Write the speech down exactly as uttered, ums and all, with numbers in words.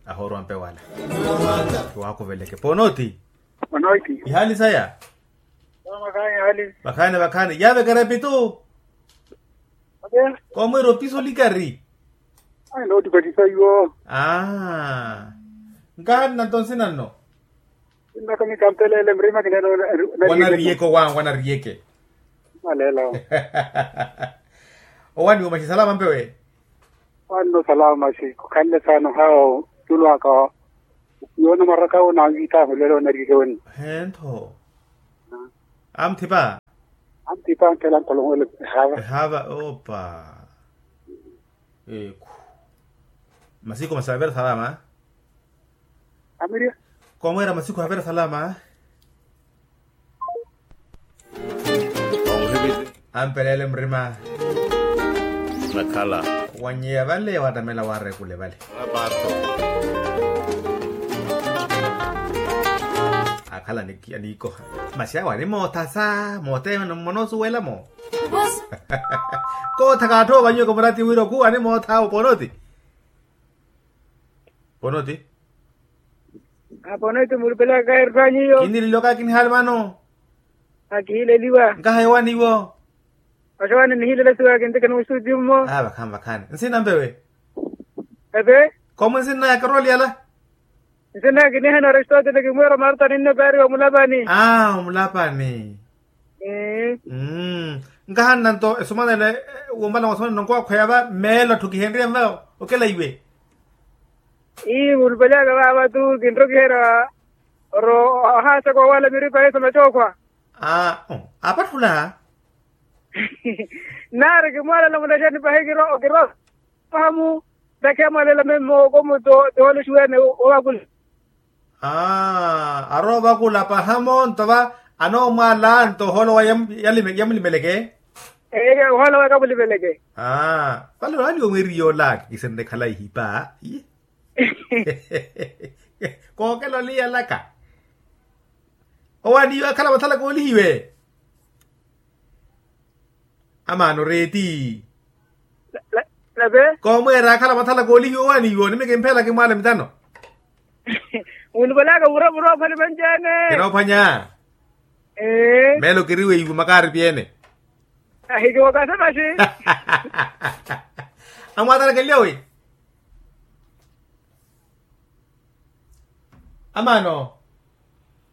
Ahoorwa mpe wala. Kiwaakuveleke ponooti. Ponooti. Ihaali saya. Vakhaani vakhaani yavekera epitu. Koomwiira opisu olikari. Ai noottipatisa iwo. Aa. Nkahanna nto nsina nno. Sinnaka mikampeleele murima kineene. Wanariyeke owaani wanariyeke. Maleelo. Owaani wo maxi salama mpewe. Owaani no salama maxi khukhanle saana ohaawo. Tulu aka yoona maraka wo naanvitahu lelo onariyeke wenno. Hentho. Amuthipa. Amuthipa ankela nkolongwele. Ehava ehava opa. Ekhu. Masiku masi avira salama. Amirya. Komwera masiku avira salama. Ampelele murima. Nakhala. Wanyeya vale watamela warekule vale. Akhala anikoha. Masi awo animootha sa moothe mmona osuwelamo. Kootha kaatthowa vanyiwe komurati wira okhuwa animootha awo ponoti. Ponoti. Aponoti mulupelaka kairuthanyiyo. Kinililo kakinihali vano. Akihileliwa nkaha yowaani iwo. Oxowaani nihilela siwa kintikha nuusuti mmo. Aa vakhaani vakhaani nsina mpewe. Epe. Komu nsinna ya karoli yala. Nsinna ya kinihana aristotele kimwira marta ninno kaari wa mulapani. Aa omulapani. Mmm. Nkahanna nto esumanelo. Wompala mwasomanelo nonkowakhweya va mmeelo atthu kihenrye mva. Okela iwe. Ii mulupelaka vava tu kinrokiherya. Oro ohaasaka owala miripa yesu machookhwa. Aa apatthula. Naari kimwalala munaxani pahi kiro kiro. Pahamu. Ntakhe amwalala memmo komu to tiholoxiwene. Ovakula. Aa aroovakula pahamu nto va. Anoomwala nto oholowa. Yamulimeleke. Eyo oholowa kamulimeleke. Aa vale olaaliwa mweriya olaki kisenrekhala ihipa. Kookela oliyalaka. Owaani iwe akhala mathala koolihiwe. Amaana oreeti. Koomweera akhala mathala koolihiwe owaani iwe onimeke mpheela kimwaala mitano. Munupalaka mura mura ophwani vanci-ene. Kinoophwanya. Meelo kiriwe iwe makaari pyene. Ahikiwokasa maxi. Amwaatalakelya wi. Amaano.